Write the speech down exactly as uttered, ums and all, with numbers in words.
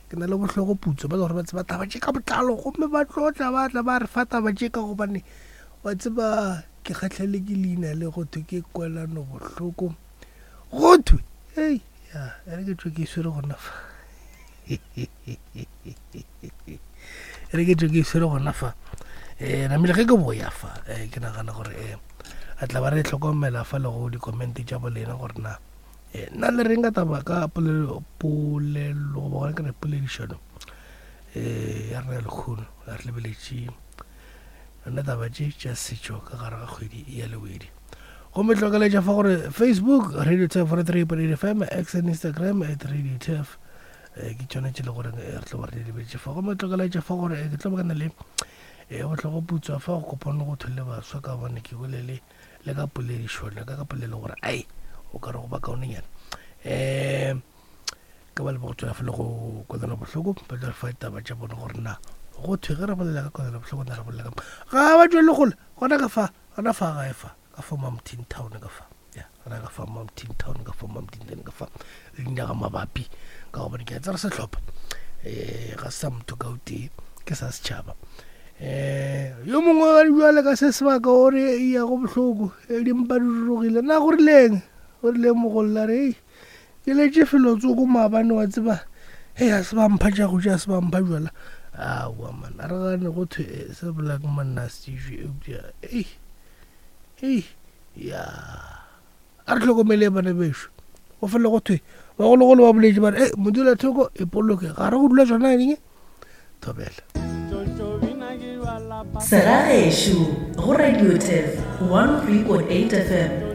Ke na le bohlogo putso ba le gore ba tseba taba tše ka botlalo, gomme ba tlo tla ba tla ba re fa taba tše ka gobane wa tseba ke kgahlele ke leina le go thwe ke kwelano bohloko. Go thwe hei ya e re ke tšwe ke e swere gona fa, e re ke tšwe ke e swere gona fa. Um namile ge ke boya fa, um ke nagana gore um a tla ba re hlokomela fa le go di-comment tša bolena gore na nna le reng ka taba ka polelo polelo goba gona ke re poledišano um ya rena ya lekgono. Re lebeletše yona taba tše tša setšo ka gare ga kgwedi ya Lewedi. Gomme hlokeletša fa gore Facebook Radio Turf one three point eight F M, X and Instagram at Radio Turf, ke tšona tše le gore re tlo ba re lebeletše fa. Gomme hlokeletša fa gore ke tlo ba kana le bohloko putswa fa go kopane go thwe le baswa ka gobane ke bolele le ka poledišano ka ka polelo gore ai o ka re go ba kaonenyana. Um ka ba le go tswela fela go kwelana bohloko, ba tla re fa ditaba tša bona gore na go thwe ge re bolela ka kwelana bohloko na re bolela ka ga ba tswele gole gona ka fa gona fa gae fa ka fa Mountain Town ka fa ya gona ka fa Mountain Town ka fa Mountain Town ka fa le dinaga mabapi ka gobane ke a tsere sehlopha um ga se sa motho ka o tee ke sa setšhaba. Um yo mongwe wa jwale ka se sebaka o re ya go bohloko dimpa di rurugile na go rileng o rile mogolla re ke letše felo tsoko maabane wa tseba hei a se ba mpha tša go ja, a se ba mpha jwala. Aowa man, a re gane go thwe se bolaya ke monna a se tšwe eupša ei ei ya a re hlokomele bana bešo. Go fela go thwe bagologolo ba boletše ba re e modulathoko e poloke ga re go dula tšona eng thobela. Segagešo go Radio Turf one three point eight F M.